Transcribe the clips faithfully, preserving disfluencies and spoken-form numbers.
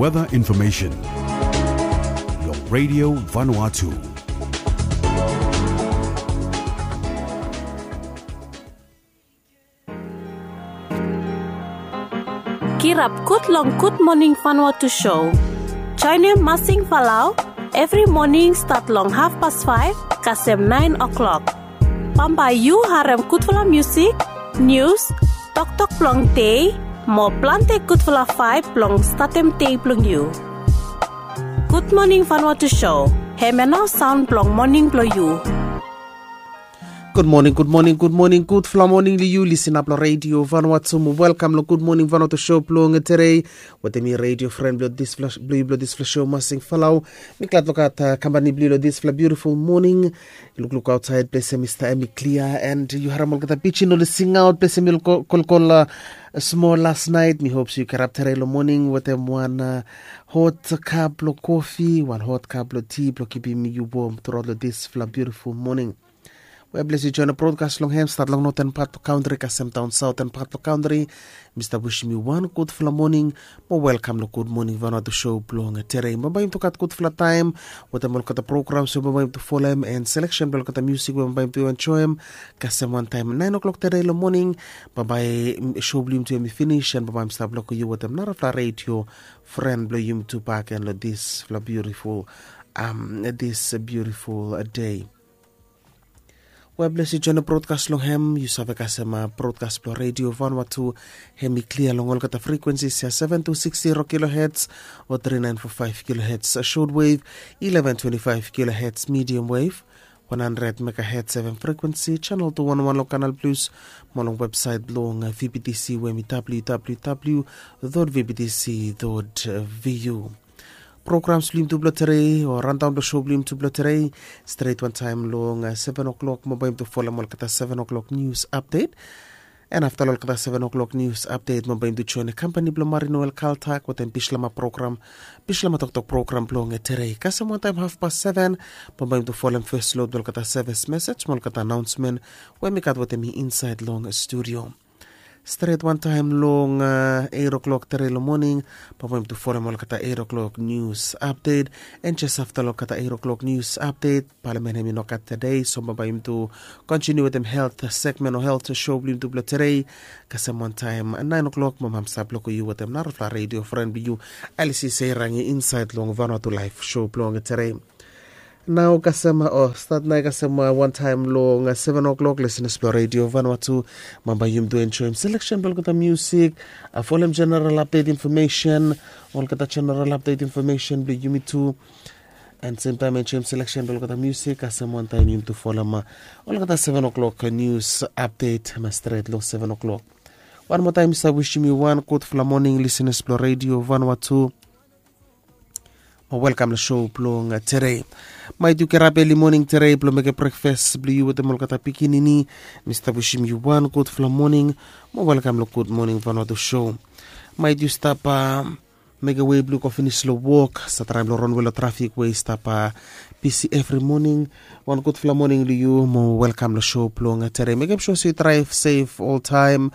Weather information. Long Radio Vanuatu. Kirap gud long Gud Moning Vanuatu Show. Joenem Masing Falau evri moning stat long hafpas faef kasem naen o'klok. Bambae yu harem gudfala musik, nius, toktok blong dei, mo plante gudfala vaeb blong statem dei blong yu. Gud Moning Vanuatu Show, hemia nao saon blong moning blong yu. Gud moning, gud moning, gud moning, gudfala moning long yu lisin ap long Radio Vanuatu mo welkam long Gud Moning Vanuatu Show blong tedei. Wetem mi radio fren blong disfala, blong yu blong disfala show Masing Falau. Mi glad long gat kampani blong yu long disfala biutiful moning. Lukluk aotsaed ples ya i stap hemi klia, and yu harem olgeta pijin oli singaot ples ya mi kolkol smol las naet. Mi hop se yu kirap tedei long moning wetem wan hot kap blong kofi, wan hot kap blong ti blong kipim yu wom truaot long disfala biutiful moning. We bles yu joen brodkas long hem stat long noten pat blong kantri kasem daon saoten pat blong kantri. Mi stap wisim yu wan gudfala moning mo welkam long Gud Moning Vanuatu Show blong tedei. Bambae yumi tu gat gudfala taem wetem olgeta programs we bambae yumi tu folem, and seleksen blong olgeta musik we bambae yumi tu enjoem. Kasem wantaem naen o'klok tedei long moning, bambae show blong yumi tu hemi finis, and bambae yumi stap long yu wetem narafala radio fren blong yumi tu bakegen long disfala biutiful, am, dis biutiful dei. We bles yu joen brodkas long hem, yu save kasem brodkas blong Radio Vanuatu hemi klia long olgeta frikwensis ya, seven two six zero kilohertz o three nine four five kilohertz short wave, eleven twenty five kilohertz medium wave, one hundred megahertz F M frikwensi, channel two one one long Canal Plus, mo long websaet blong V B T C we hemi W W W dot V B T C dot V U. Programs blong yumi tu blong tedei o randaon blong show blong yumi tu blong tedei, stret wantaem long seven o'klok mo bambae yumi tu folem olgeta seven o'klok nius apdet. And afta long olgeta seven o'klok nius apdet mo bambae yumi tu joen kampani blong Marinoel Kaltak wetem Bislama program, Bislama toktok program blong tedei. Kasem wantaem hafpas seven mo bambae yumi tu folem fes lod blong olgeta sevis mesej mo olgeta anaonsmen we mi gat wetem mi insaed long studio. Stret wantaem long eit o'klok tedei long moning, bambae yumi tu folem olgeta eit o'klok nius apdet. And jes afta long olgeta eit o'klok nius apdet, palamen hemi nogat tedei, so bambae yumi tu kontiniu wetem helt segmen o helt show blong yumi tu blong tedei. Kasem wantaem naen o'klok mo bambae mi stap long yu wetem narafala radio fren blong yu, Alice Seirangi, insaed long Vanuatu Laef show blong tedei. Nao kasem, o stat nao kasem wantaem long seven o'klok, lisenas blong Radio Vanuatu, bambae yumi tu enjoem seleksen blong olgeta musik, folem jeneral apdet infomesen, olgeta jeneral apdet infomesen blong yumi tu. And semtaem enjoem seleksen blong olgeta musik, kasem wantaem yumi tu folem olgeta seven o'klok nius apdet, mo stret long seven o'klok. Wan moa taem mi save wisim yu wan gudfala moning, lisenas blong Radio Vanuatu. Mo welkam long show blong tedei. Maet yu kirap eli moning tedei blong mekem brekfas blong yu wetem olgeta pikinini, mi stap wisim yu wan gudfala moning mo welkam long Gud Moning Vanuatu show. Maet yu stap mekem wei blong yu go finis long wok, save traem long ronwe long trafik we i stap bisi evri moning, wan gudfala moning long yu mo welkam long show blong tedei. Mekem sua se yu draev sef oltaem.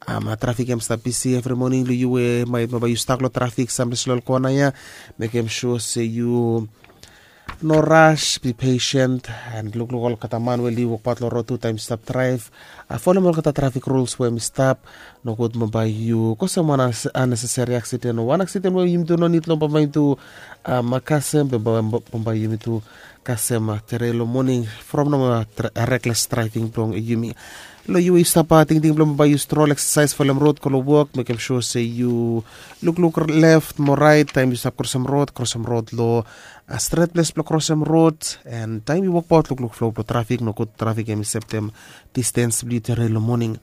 Trafik hemi stap bisi evri moning long yu we maet bambae yu stak long trafik samples long kona ya. Mekem sua se yu no ras, be patient, and lukluk olgeta man we oli wokbaot long rod tu taem yu stap draev. Folem olgeta trafik ruls we hemi stap. Nogud bambae yu kosem wan aneseseri aksiden o wan aksiden we yumi tu no nid long bambae yumi tu kasem, bambae yumi tu kasem tedei long moning from nomo rekles draeving blong yumi. Long yu we yu stap tingting blong bambae yu strol, eksasaes, folem rod go long wok, mekem sua se yu lukluk lef mo raet taem yu stap krosem rod, krosem rod long stret ples blong krosem rod. And taem yu wokbaot lukluk flo blong trafik, nogud trafik hemi septem distens blong yu tedei long moning.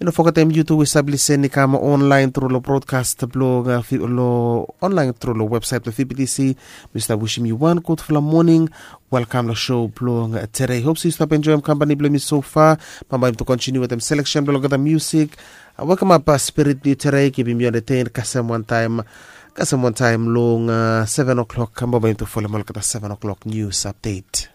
I no fogetem yu tu we yu save lisin i kam onlaen tru long brodkas blong, long onlaen tru long websaet blong V B T C. Mi stap wisim yu wan gudfala moning. Welkam long show blong tedei. Hop se yu stap enjoem kampani blong mi sofa. Bambae yumi tu kontiniu wetem seleksen blong olgeta musik. Wekemap spirit blong yu tedei, kipim yu entetein kasem wantaem, kasem wantaem long seven o'clock. Bambae yumi tu folem olgeta seven o'clock nius apdet.